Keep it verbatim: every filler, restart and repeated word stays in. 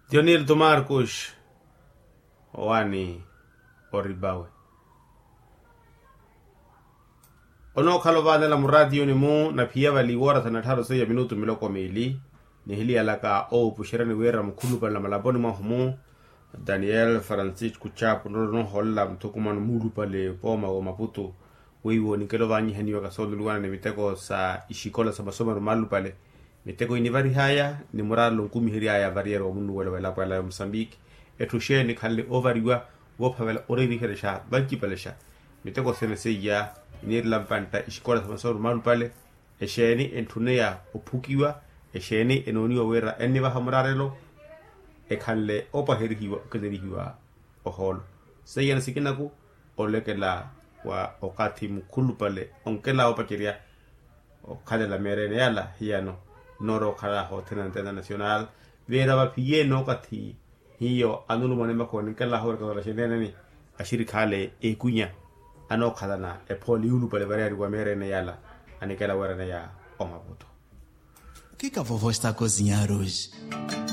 Dionil tomarcos, owaani oribawe. Onookhala ovaanela muraatiyuni-mu na phiya vale iwoora thanattharu seiya minutu miloko miili. Nihiliyalaka owupuxeryani wira mukhulupale na malaponi mwahu-mu, daniel francisco chapu nrono noohoolela muthukumano muulupale pooma wa maputu. Weiwo ninkela ovaanyihaniwaka sooluliwana ni miteko sa ixikola sa masomero maalupale. Miteko inivarihaya ni muraarelo nkumiheryaya variyari wa munnuwelo w'elapo ela ya musambiki. Etthu xeeni ekhanle oovariwa, woophavela oreeriherexa vancipalexa. Miteko sene seiya iniirela mpantta ixikola sa masomero maalupale. Exeeni entthuniya ophukiwa? Exeeni enooniwa wira ennivaha muraarelo? Ekhanle opwaherihiwa okenerihiwa ohoolo. Seiya ni sikinaku olekela wa okathi mukhulupale onkela opacerya okhalela meerene yala hiyano. Noorowa okhala hothene na international, vira vaphiye nookathi hiyo anulumana emakhoni nkela hoorekatala xeneneni. Axirikhaale ekwinya anookhalana ephooli yuulupale variyari wa meerene yala anikela weeraneya omaputo. Kikavovo estako zinyaruji.